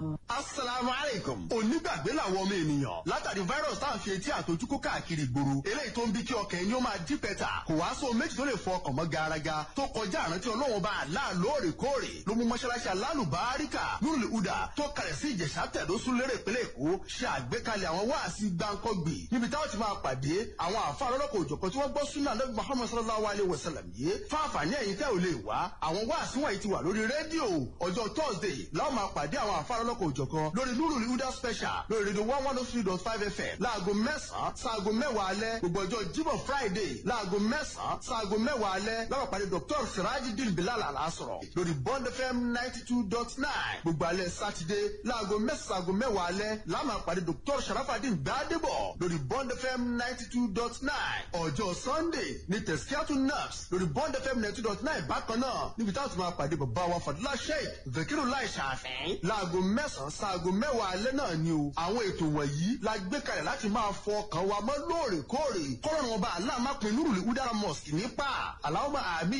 Asalaamu alaikum. Onígbàgbé làwọn ọmọ ènìyàn. Látàrí virus tá à ń fi etí àtojúkó káàkiri ìgboro. Eléyìí tó ń bí kí ọkàn ẹni ó máa dí pẹ̀tà. Kò wá sóhun méjì tó lè fọ ọkàn mọ́ garaga. Tó kọjá àrántí Ọlọ́run bá àlá lóòrèkóòrè. Ló mú mọ́ṣáláṣí alálùbáríkà Nurul Huda tó kalẹ̀ sí Ìjẹ̀ṣà tẹ̀dó Súlérè ìpínlẹ̀ Èkó ṣe àgbékalẹ̀ àwọn wáàsí gbáǹkọ́gbì. Níbi táwọn ti máa pàdé àwọn àfa lọ́lọ́kọ̀ òjọ̀kan tí wọ́n gbọ́ súnà Ànábì Muhammad sallallahu alayhi wa sallam yìí. Fáfàní ẹ̀yin tẹ́ ò lè wá. Àwọn wáàsí wọ̀nyí ti wà lórí rédíò. Ọjọ́ Thursday láwọn máa pàdé àwọn àfa lọ́lọ́kọ̀ òjọ̀kan lórí Nurul Huda special lórí rédíò 103.5 FM láago 9 sáago 10 alẹ́. Gbogbo ọjọ́ Jímọ̀ Friday láago 9 sáago 10 alẹ́ láwọn pàdé Dr. Sirajideen Bilal Alasọ̀rọ̀ lórí Bond FM 92.9. Gbogbo alẹ́ Sátidé láago 9 sáago 10 alẹ́ láwọn pàdé Dr. Sharafadin Gbadebo lórí Bond FM 92.9. Ọjọ́ Sunday ní Tẹ̀síkíátù Naps lórí Bond FM 92.9 bákan náà níbi táwọn ti máa pàdé bàbá wa Fadúlá Sheikh Zakiru Lai Ṣàfẹ́ láago 9 sáago 10 alẹ́ náà ni o. Àwọn ètò wọ̀nyí la gbé kalẹ̀ láti máa fọ ọkàn wa mọ́ lóòrèkóòrè. Kọ́lọ́run ọba aláàmápin Nurul Huda Mosque nípa. Allahumma àmín.